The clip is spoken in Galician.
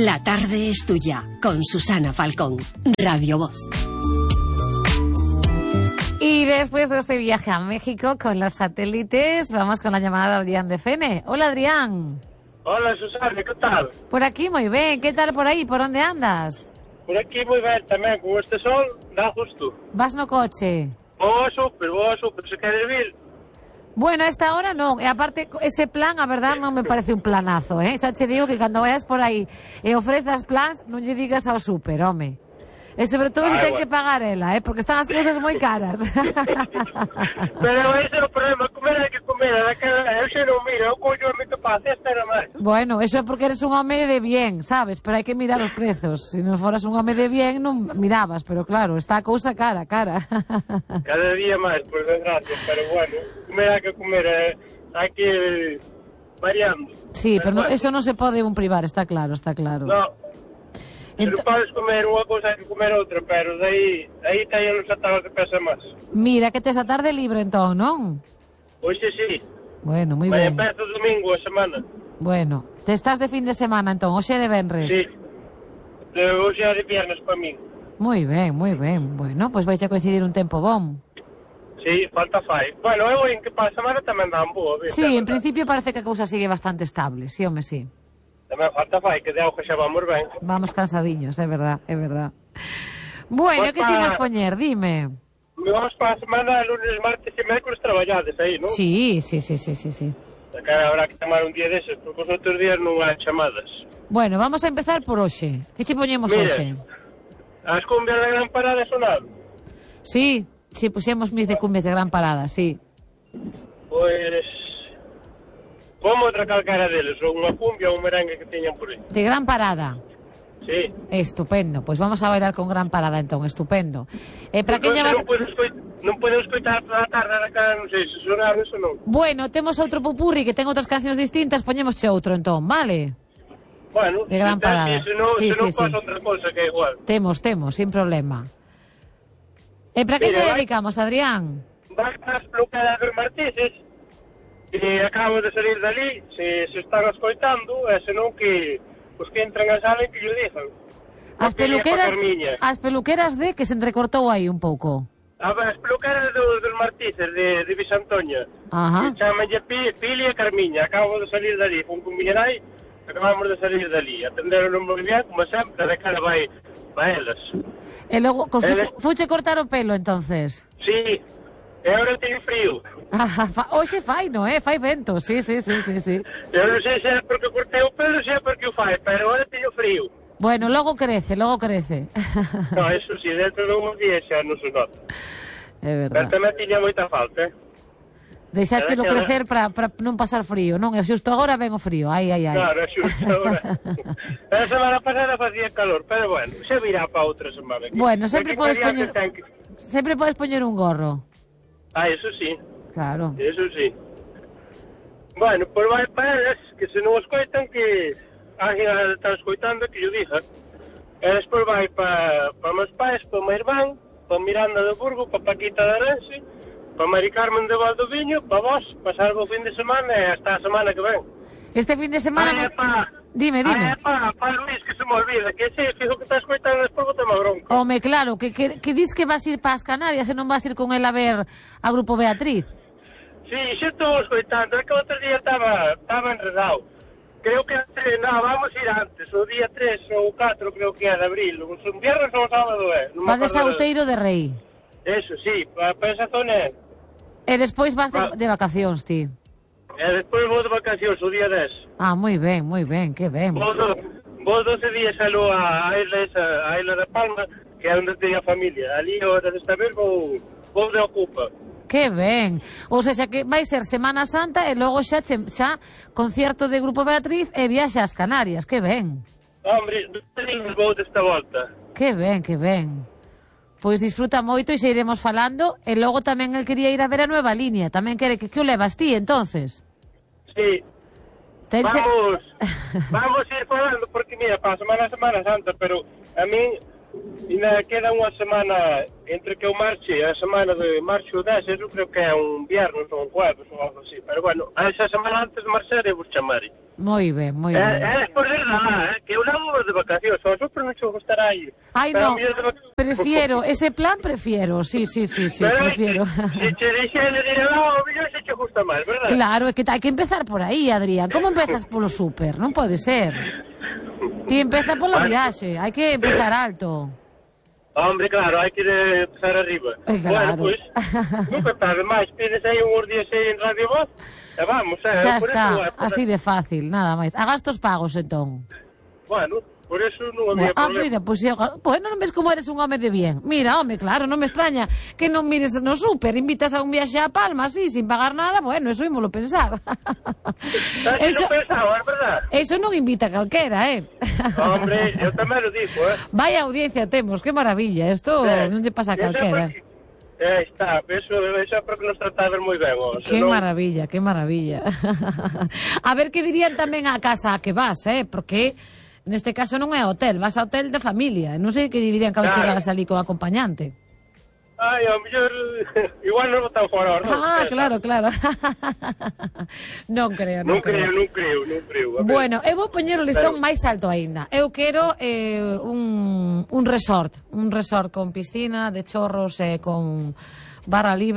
La tarde es tuya, con Susana Falcón, Radio Voz. Y después de este viaje a México con los satélites, vamos con la llamada de Adrián de Fene. Hola, Adrián. Hola, Susana, ¿qué tal? Por aquí muy bien. ¿Qué tal por ahí? ¿Por dónde andas? Por aquí moi ben tamén, con este sol, dá justo. Vas no coche? Vou super, se queres vir. Bueno, a esta hora non, e aparte ese plan, a verdad, non me parece un planazo, xa che digo que cando vayas por aí e ofrezas plans, non lle digas ao super, home. E sobre todo se ten que pagar ela, porque están as cousas moi caras. Pero ese é o problema, comer hai que comer, eu xe non miro, eu coño a mi que pasa, esta era máis. Bueno, eso é porque eres un home de bien, sabes, pero hai que mirar os prezos. Se non foras un home de bien, non mirabas, pero claro, está a cousa cara. Cada día máis, por desgracia, pero bueno, comer hai que comer, hai que ir variando. Sí, pero bueno, eso non se pode un privar, está claro. No. Se non podes comer unha cousa, hai que comer outra, pero aí teñen os atados que pesa máis. Mira, que tes a tarde libre entón, non? Hoxe sí. Bueno, moi ben. Vai empeza o domingo a semana. Bueno, te estás de fin de semana entón, hoxe de venres. Sí. Hoxe é de viernes para min. Moi ben. Bueno, pois vais a coincidir un tempo bom. Sí, falta fai. Bueno, eu en que para a semana tamén dan boa. Sí, en principio parece que a cousa sigue bastante estable, sí, home, sí. Tamén falta fai, que de auge xa vamos ben. Vamos cansadiños, é verdad. Bueno, que che vas poñer? Dime. Vamos para a semana, lunes, martes e mércoles traballades aí, non? Sí. Cara, habrá que tomar un día deses, porque os outros días non hai chamadas. Bueno, vamos a empezar por hoxe. Que che poñemos hoxe? As cumbias de Gran Parada sonaron? Sí, puxemos mis de cumbias de Gran Parada, sí. Pois... como outra calcara deles, ou unha cumbia ou un merengue que teñan por aí. De Gran Parada? Sí. Estupendo, pois vamos a bailar con Gran Parada entón, estupendo. Para que llevas... Non podemos escoitar toda a tarde na cara, non sei se sonaron eso non. Bueno, temos outro popurri que ten outras cancións distintas, poñémosche outro entón, vale? Bueno, de Gran Parada. Se non pasa outra cosa que é igual. Temos, sin problema. Para que lle dedicamos, Adrián? Vai para as peluqueras dos Martises, que acabo de salir dali, se están escoitando, e senón que os que entran a sala que lle dixan. As peluqueras de que se entrecortou aí un pouco. As peluqueras dos Martises, de Visantoña. Ajá. Chamanlle Pili e Carmiña, acabo de salir dali, con Miñerai, acabamos de salir dali. Atenderon moi bien, como sempre, de cara vai elas. E logo, fuche cortar o pelo, entonces? Sí. E agora teño frío. Hoxe fai, non é? Fai vento, sí. Eu non sei se é porque cortei o pelo, se é porque o fai, pero agora teño frío. Bueno, logo crece. No, eso sí, dentro de uns días xa non se nota. É verdad. Pero tamén tiña moita falta, Deixáchelo crecer para non pasar frío, non? E xusto agora ven o frío, ai. Claro, xusto agora. A semana pasada facía calor, pero bueno, se virá para outra semana. Bueno, sempre podes poñer un gorro. Eso sí. Claro. Eso sí. Bueno, pois vai para elas, que se non escoitan, que alguén está escoitando, que yo diga. E despois vai para meus pais, para o meu irmán, para Miranda de Burgo, para Paquita de Arense, para Mari Carmen de Valdoviño, para vos, pasar o fin de semana e hasta a semana que ven. Este fin de semana... Dime. Para Luis, que se me olvida, que ese fijo que está escoitando despois botame a bronca. Home, claro, que dis que vas ir para as Canarias e non vas ir con él a ver a Grupo Beatriz. Sí, xa estou escoitando, é que outro día estaba enredado. Creo que vamos ir antes, o día 3 ou 4 creo que é de abril, un viernes ou sábado é. Vades a Outeiro de Rei. Eso, sí, para esa zona é. E despois vas de vacacións, ti. E despois vou de vacacións o día 10. Moi ben, que ben. Vou 12 días a Isla de Palma, que é onde teño a familia. Ali, onde está ver, vou de Ocupa. Que ben. Ou seja, que vai ser Semana Santa e logo xa concierto de Grupo Beatriz e viaxe ás Canarias. Que ben. Hombre, vou desta volta. Que ben. Pois disfruta moito e xa iremos falando. E logo tamén el quería ir a ver a Nueva Línea. Tamén quere que o levas ti, entonces. Sí. Vamos ir falando, porque mira, para a Semana Santa, pero a min ainda queda unha semana entre que eu marche, a semana de marcho 10, eu creo que é un viernes ou un jueves ou algo así, pero bueno, a esa semana antes de marchar eu vos chamarei. Moi ben, moi ben. É por verdade, que eu non vou de vacacións, só super non che gustará ir. Ai, non, prefiero, ese plan prefiero, sí, prefiero. Se che deixen de ir lá, o millón se che gusta máis, verdad? Claro, é que hai que empezar por aí, Adrián. Como empezas polo súper? Non pode ser. Ti empeza pola viaxe, hai que empezar alto. Hombre, claro, hai que empezar arriba. Claro. Bueno, pois, nunca tarde máis, pides aí uns días aí en Radio Voz, e vamos, Xa por está, eso, así de fácil, nada máis. A gastos pagos, entón. Bueno, por eso non había problema. Mira, pois bueno, non ves como eres un home de bien. Mira, home, claro, non me extraña que non mires no súper, invitas a un viaxe a Palma, así, sin pagar nada, bueno, eso ímolo pensar. Eso non pensaba, é verdad? Eso non invita a calquera, Hombre, eu tamén lo digo, Vaya audiencia temos, que maravilla, isto non lle pasa a calquera. Está, eso é porque nos trataban moi ben. Que maravilla, que maravilla. A ver que dirían tamén a casa a que vas, porque neste caso non é hotel, vas a hotel de familia. Non sei que dirían cando chegaras ali con acompañante. Ai, ao mellor igual nos botan fora. Claro. Non creo. Bueno, eu vou poñer o listón máis alto aínda. Eu quero un resort con piscina, de chorros e con barra libre.